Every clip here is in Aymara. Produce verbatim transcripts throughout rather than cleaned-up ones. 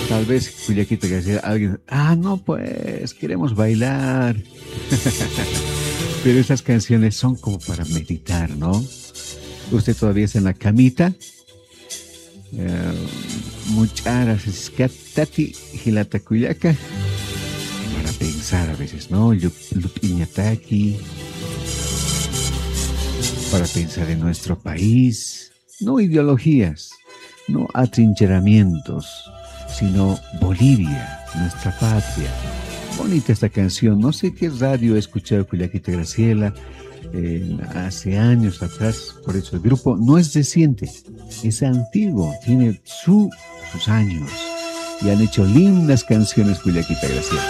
Tal vez, Cuyaquita García, alguien, ah, no, pues, queremos bailar. Pero esas canciones son como para meditar, ¿no? Usted todavía está en la camita. Eh, much'aras, tati, jilata Cuyaca. Para pensar a veces, ¿no? Lu- Lup'iñataki. Para pensar en nuestro país. No ideologías, no atrincheramientos, sino Bolivia, nuestra patria. Bonita esta canción. No sé qué radio he escuchado, Cuyaquita Graciela, eh, hace años atrás. Por eso el grupo no es reciente, es antiguo, tiene su, sus años. Y han hecho lindas canciones, Cuyaquita Graciela.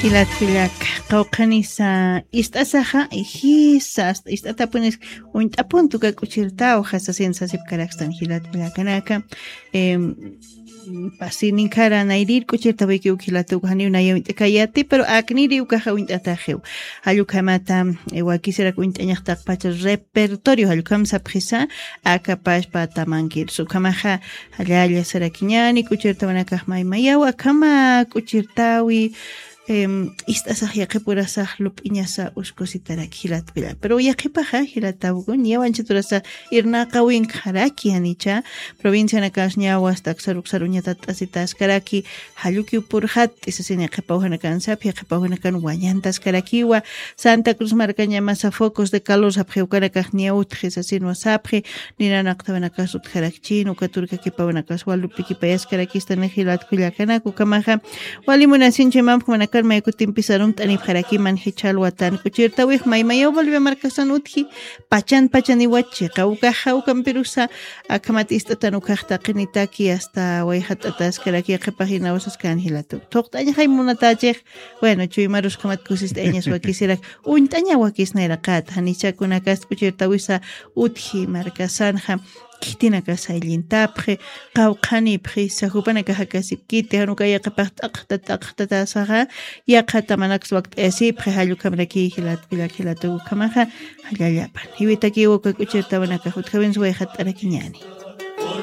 Jilat Cuyaca, qawqhanisa ist'asaxa, jisa, hasta ist'atapunis uñt'apuntuka k'uchirtaw, jasasina sasipkarakstan jilat Cuyacanaka. Em, pasininkara nayrir k'uchirtawiki uk jilatuku janiw nayaw uñt'akayati, pero akniri ukaxa uñt'ataxiw. Jallukhamata, eh, wakisirak uñt'añaxtaqpacha repertorio, jallukham sapxisa, akapashpa tamankirsu. Ukhamaxa, jallalla sarakiñani, k'uchirtawanakax maymayaw, akhama k'uchirtawi, em, ist'asax yaqhipurasax lup'iñasa uskusitaraki jilat Cuyaca. Pero yaqhipaxa, jilatawkun, yawanchaturasa irnaqawinkxaraki janicha, provincianakas ñawas taksar uksar uñatat t'asitaskaraki, jallukiw purxat, t'isasini qhipawjanakan sapxi, qhipawjanakan wañantaskarakiwa, Santa Cruz markañamasa focos de calor sapxi, ukanakax ña utji sasinwa sapxi, ninanaqtawanakas utjarakchini, uka turkakipawanakas walupikipayaskarakistani jilat Cuyacanaka. Ukhamaxa, wali munasinchi mamjmanakan maykutimpisa arumt'anipxarakiman jichha alwatan k'uchirtawix maymayaw Bolivia markasan utji, pachan pachaniwachi, qawkaxa ukampirusa, akhamat ist'atan ukax taqinitaki hasta wayjat'ataskaraki yaqhipax inawsaskan jilatu. Thuqt'añaxay munatachix, bueno, chuymarus ukhamat kusist'ayañas wakisirak, uñt'aña wakis nayraqata, janichakunakas k'uchirtawisa utji markasanxa, khitinakas ayllintapxi, qawqhanipxi, sajupanakax jakasipkiti, jan uka yaqhipax t'aqta, t'aqtatasaxa, yaqhata manakas wakt'ayasipxi, jallukhamraki jilat Cuyaca, jilatuku ukhamaxa, jallallapan. Jiwitakiw uka k'uchirtawanakax utjawinsa wayjat'arakiñani.